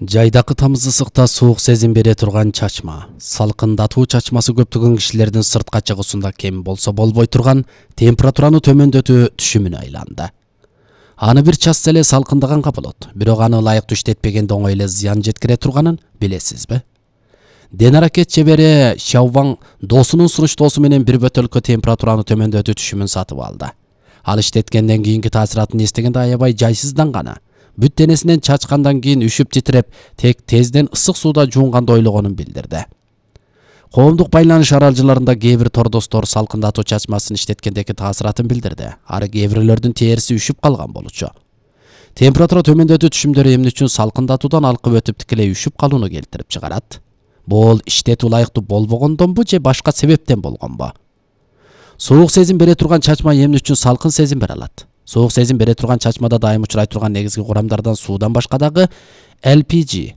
Жайдакы тамыз ысыкта суук сезим бере турган чачма, салкындатуу чачмасы көптөгөн кишилердин сыртка чыгуусунда кем болсо болбой турган температураны төмөндөтүү түшүмүнө айланды. Аны бир час эле салкындаганга болот, бирок аны ылайыктуу иштетпегенде оңой эле зыян жеткире турганын билесизби? Ден аракет чебери Шаовваң досунун сунуштоосу менен бир бөтөлкө температураны төмөндөтүү түшүмүн сатып алды. Ал иштеткенден кийинки таасиратын эстегенде аябай жайсызданганы, бүт денесинен чачкандан кийин үшүп титиреп, тек тезден ысык сууда жуунганды ойлогонун билдирди. Коомдук байланыш аралжыларында кээ бир тордостор салкындатуу чачмасын иштеткендеги таасиратын билдирди. Ары кээ бирлердин териси үшүп калган болчу. Температура төмөндөтүү түшүмдөрү эмне үчүн салкындатуудан алкып өтүп тикелей үшүп калууну келтирип чыгарат? Бул иштетүү ылайыктуу болбогондонбу же башка себептен болгонбу? Суук сезим бере турган чачма эмне үчүн салкын сезим бере алат? Суук сезим бере турган чачмада дайым учурай турган негизги курамдардан суудан башка дагы LPG,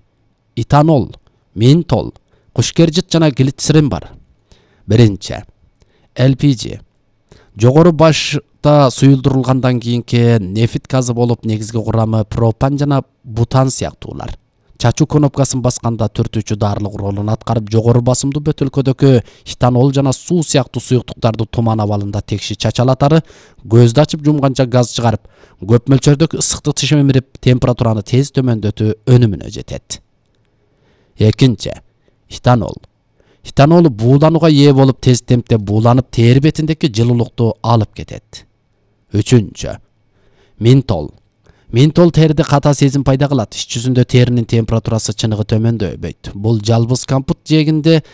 этанол, ментол, кушкержит жана глицерин бар. Биринчи, LPG. Жогору башта суюлдурулгандан кийинки нефит газы болуп, негизги курамы пропан жана бутан сыяктуулар. Чачуу кнопкасын басканда түртүүчү дарылык ролун аткарып, жогору басымдуу бөтөлкөдөгү этанол жана суу сыяктуу суюктуктарды туман абалында текши чачалатары көздү ачып жумганча газ чыгарып, көп мөлчөрдөгү ысыктык чечимирип, температураны тез төмөндөтүү өнүмүнө жетет. Экинчи, этанол. Этанол бууланууга ээ болуп, тез темпте бууланып, тери бетиндеги жылуулукту алып кетет. Үчүнчү, ментол. Ментол терide ката сезим пайда кылат. Ич жүзүндө теринин температурасы чыныгы төмөндөбөйт. Бул жалбыз компот жегинде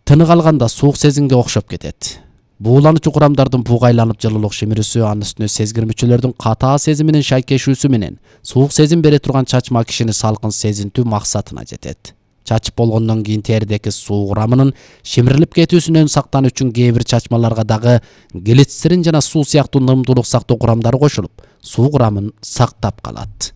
тынык алганда суук сезимге окшоп кетет. Буулануучу курамдардын бугайланып жылуулук шимирүүсү, анын үстүнө сезгирмөчөлөрдүн ката сезиминин шайкешүүсү менен суук сезим бере турган чачма кишини салкын сезинтүү максатына жетет. Чачып болгондон кийин теридеги суу курамынын шимирилип кетүүсүнөн сактануу үчүн кээ бир чачмаларга дагы глицерин жана суу сыяктуу нымдуулук сактоо курамдары кошулуп, суу курамын сактап калат.